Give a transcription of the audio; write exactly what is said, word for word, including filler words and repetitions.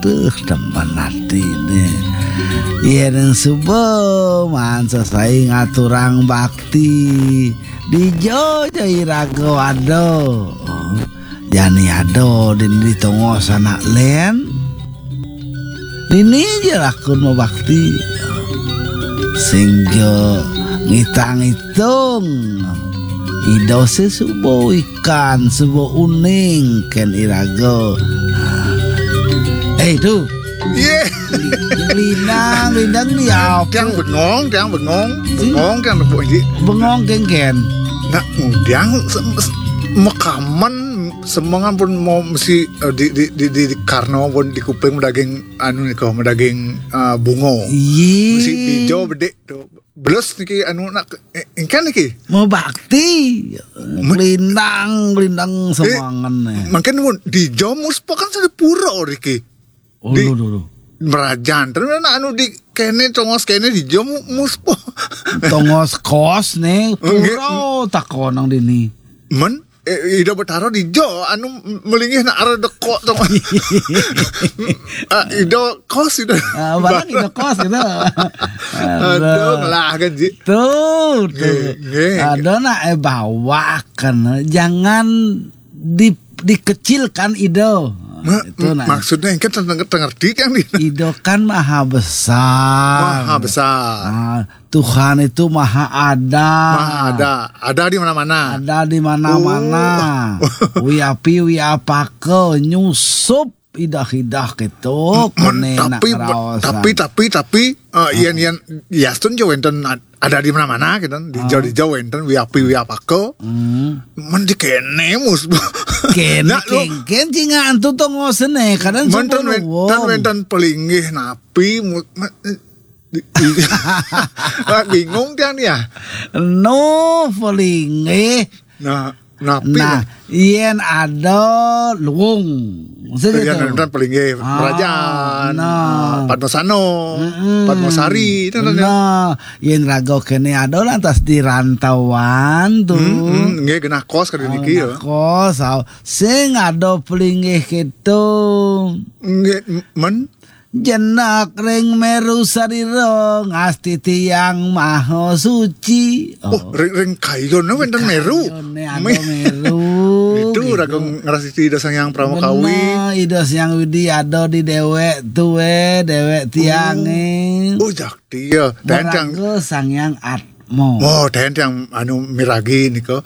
Duh, demen atine. Yen suba maan sesai ngaturang bakti. Dija ja iraga ada. Jani ada dini di tongos anak len. Dini ja lakun mabakti. Sing ja ngitang-itung. Ida sesuba ikan, suba uning ken iraga. Eh, tu. Ye. Lindang, lindang dia apa? Tiang bengong, tiang bengong. Bengong tiang nepuk ji. Bengong kengken. Nak ngudiang se- se- makaman semengan pun mau mesti, eh, di, di, di, di, di Karno pun di kuping medaging anu ni kau, medaging, eh, bungo. Iya. Mesti hijau bedik tu. Belas niki anu nak, eh, engkan niki. Mau bakti. Lindang, lindang semangan ni. Mungkin pun di Jomus kan sudah pura niki. Oh, di dulu, dulu. Merajan. Terus nak anu di kene tongos kene di Jomus po. Tongos kos ni, pura takon nang dini. Men, eh, ida betara di jo anu melinggih nak arah dekok tu. Ah, ida kos ida. Ah, barang ida kos ida. Aduh, ngelah kan ji. Tu, tu. Nggih, nggih. Ada nak eh bawakan, jangan di dikecilkan ida. Itu nak. Maksudnya kan tengerti kan ni. Ida kan maha besar. Maha besar. Ah, Tuhan itu maha ada. Maha ada. Ada di mana-mana. Ada di mana-mana. Oh. Wi api, wi apaka, nyusup idah-idah gitu. Kone nak tapi, tapi, tapi, uh, yen, yen, yastun jo wenten ada di mana-mana gitu. Di jo, di jo wenten, wi api, wi apaka. Men di kene mus. Kene kengken cinga antu tongosene, kadang men ten wenten pelinggih napi mus. Wah, bingung tiang ni ya. No, pelinggih. Nah, napi? Nah, yen ada luung. Yen ada pelinggih kerajaan, nah. Padmasano, Padmasari, itu nah. Yen raga kene ada lantas di rantauan tu. Hmm, hmm, nggih genah kos kali niki ya. Kos, sing ada pelinggih gitu. Nggih, men Jenak ring meru sarira ngastiti Yang Maha Suci. Oh, ring, ring kayone wenten meru. Kayone ada meru. Itu gitu. Raga ngrastiti Ida Sang Hyang Pramakawi. Bener, Ida Sang Hyang Widi ada di dewek tuwe, dewek tiange. Oh, jakti ya. Tentang Sang Hyang Atma. Oh, tentang anu miragi nika.